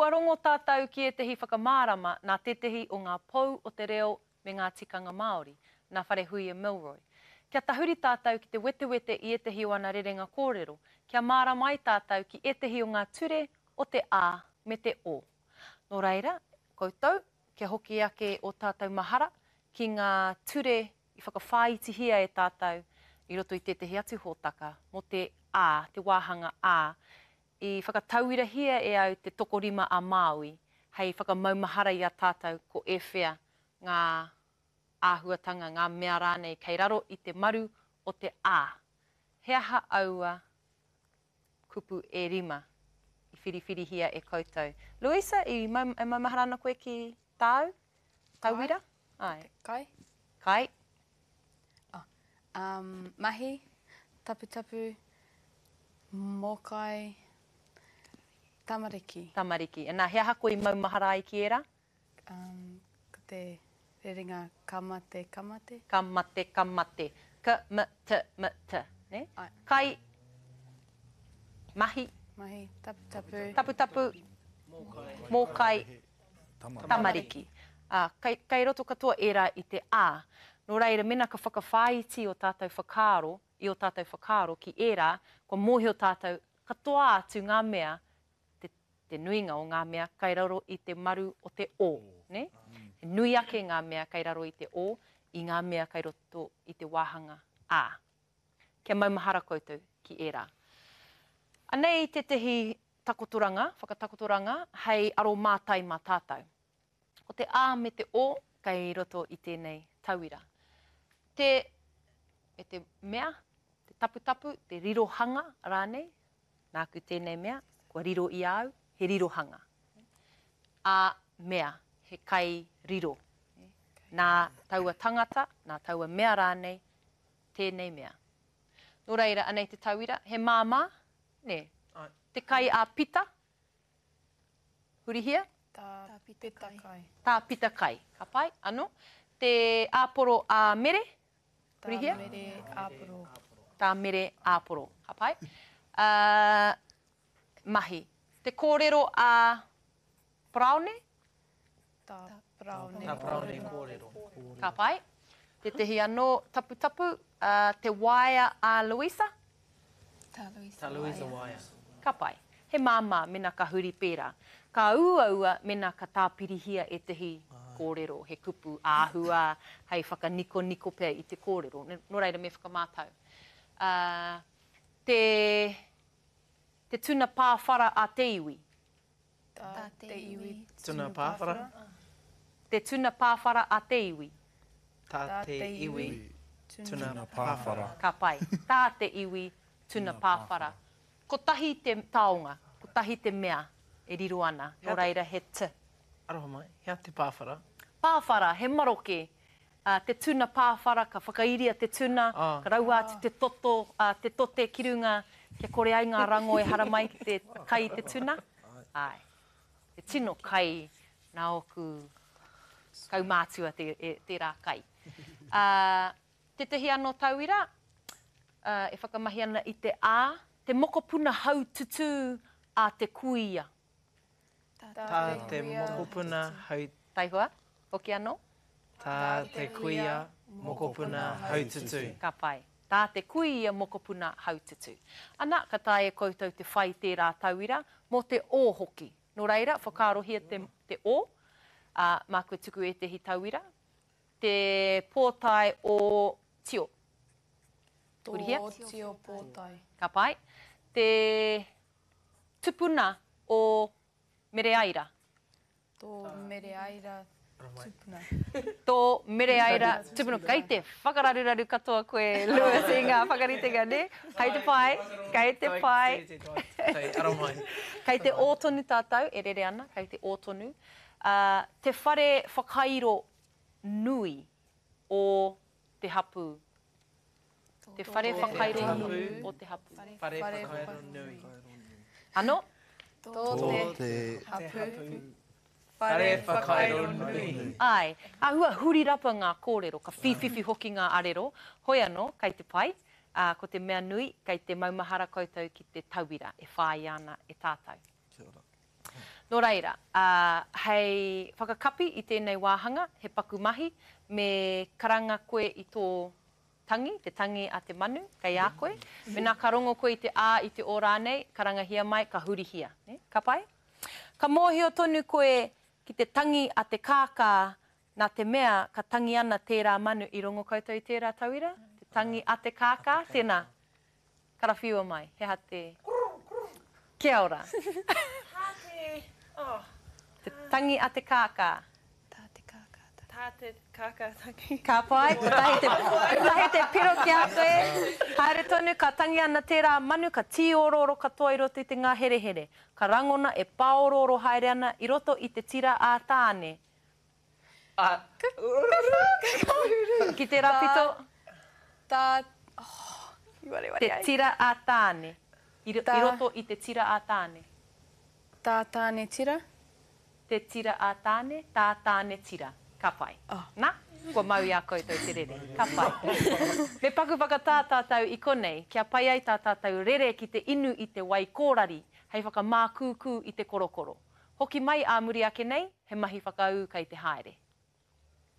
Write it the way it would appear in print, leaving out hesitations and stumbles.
Kua rongo tātou ki ētehi whakamārama nā tētehi o ngā pou o te reo me ngā tikanga Māori, nā Wharehuia Milroy. Kia tahuri tātou ki te wetewete i ētehi o ana rerenga kōrero, kia mārama ai tātou ki ētehi o ngā ture o te A me te O. Nō reira, koutou, kia hoki ake ō tātou mahara ki ngā ture i whakawhāitihia e tātou i roto i tētehi atu hōtaka mō te A, te wāhanga A, i whakatauirahia e au te tokorima a Māui hei whakamaumahara i a tātou ko ēwhea ngā āhuatanga, ngā mea rānei kei raro i te maru o te A. He aha aua kupu e rima i whiriwhirihia e koutou? Louisa, i mau, e maumahara ana koe ki tāu tauira? Kai. Āe. Kai. Kai. Oh, um, mahi, taputapu, mōkai, tamariki. Tamariki. Nā, he aha koe i maumahara ai ki ērā? Um, ko te rerenga ka mate, ka mate. Ka mate, ka mate. K, m, t, m, t. Ne? Ai. Kai, mahi. Mahi, taputapu. Taputapu. Mōkai. Mōkai. Tamariki. Ā, kei, kei roto katoa ērā i te A. Nō reira, mēnā ka whakawhāiti ō tātou whakaaro, i ō tātou whakaaro ki ērā, kua mōhio tātou katoa atu ngā mea, te, te nuinga o ngā mea kei raro i te maru o te O, nē? He nui ake ngā mea kei raro i te O i ngā mea kei roto i te wāhanga A. Kia maumahara koutou ki ērā. Anei tētehi takotoranga, whakatakotoranga hei aromātai mā tātou. Ko te A me te O kei roto i tēnei tauira. Te, me te mea, te taputapu, te rirohanga rānei, nāku tēnei mea, kua riro i a au, he rirohanga. A, mea, he kai riro. Nā taua tangata, nā taua mea rānei, tēnei mea. Nō reira, anei te tauira, he māmā, nē? Āe. Te kai a Pita, hurihia? Tā Pita kai. Tā Pita kai. Ka pai, anō. Te āporo a Mere, hurihia? Tā Mere āporo. Tā Mere āporo. Ka pai. Uh, mahi. Te kōrero a Paraone? Tā Paraone Tā Paraone kōrero. Ka pai. Tētehi anō taputapu, te waea a Louisa? Tā Louisa Tā Louisa waea. Ka pai. He māmā mena ka huri pērā. Ka uaua mena ka tāpirihia ētehi kōrero, he kupu āhua hei whakanikoniko pea i te kōrero. Nō reira me whakamātau. Te, te tuna pāwhara a te iwi. Tā te iwi tuna pāwhara. Te tuna pāwhara a te iwi. Tā te iwi tuna pāwhara. Ka pai. Tā te iwi tuna pāwhara. Kotahi te taonga, kotahi te mea e riro ana, nō reira he t. Aroha mai, he aha te pāwhara? Pāwhara, he maroke. Te tuna pāwhara, ka whakairia te tuna, ka raua atu te toto, te tote ki runga, kia kore ai ngā rango e haramai ki te kai i te tuna. Āe. He tino kai nā ōku kaumātua tērā kai. Tētehi anō tauira, e whakamahi ana i te A, te mokopuna haututū a te kuia. Tā te mokopuna hau. Taihoa, hoki anō. Tā te kuia mokopuna haututū. Ka pai. Tā te kuia mokopuna haututū. Ana, ka taea e koutou te whai tērā tauira, mō te O hoki. Nō reira, whakaarohia te, te O, ā, māku e tuku ētehi tauira. Te pōtae o Tio. Hurihia. Tō Tio pōtae. Ka pai. Te Tupuna o Mereaira. Tō Mereaira tupuna. Tō Mereaira tupuna. Kei te whakararuraru katoa koe, Lewis, i ngā whakaritenga, nē? Kei te pai, kei te pai. Kei te ō tonu tātou e rere ana, kei te ō tonu. Te whare whakairo nui o te hapū. Te whare whakairo nui o te hapū. Whare whakairo nui. Ano? Tō te hapū. Whare whakairo nui. Āe. Āhua huri rapa ngā kōrero, ka whīwhiwhi hoki ngā arero, hoi anō, kei te pai, ā, ko te mea nui, kei te maumahara koutou ki te tauira e whāia ana e tātou. Kia ora. Nō reira, ā, hei whakakapi i tēnei wāhanga, he paku mahi, me karanga koe i tō tangi, te tangi a te manu, kei a koe. Mēnā ka rongo koe i te ā, i te o rānei, karangahia mai, ka hurihia. Nē? Ka pai? Ka mōhio tonu koe ki te tangi a te kākā nā te mea ka tangi ana tērā manu i rongo koutou i tērā tauira? Te tangi a te kākā, tēnā, karawhiua mai, he aha te. Kia ora. Tā te, oh. Te tangi a te kākā. Tā te kākā tangi. Tā te kākā tangi. Ka pai, kotahi te, kotahi te piro ki a koe. Haere tonu, ka tangi ana tērā manu, ka tīorooro katoa i roto i te ngāherehere. Ka rangona e pāorooro haere ana i roto i te tira a Tāne. A. Ki tērā pito. Tā, oh, i wareware ai. Te tira a Tāne. I, i roto i te tira a Tāne. Tā Tāne tira. Te tira a Tāne, tā Tāne tira. Ka pai. Oh. Na, kua mau i a koutou te rere. Ka pai. Me paku whakatā tātou i konei, kia pai ai tā tātou rere ki te inu i te wai kōrari hei whakamākūkū i te korokoro. Hoki mai ā muri ake nei, he mahi whakaū kei te haere.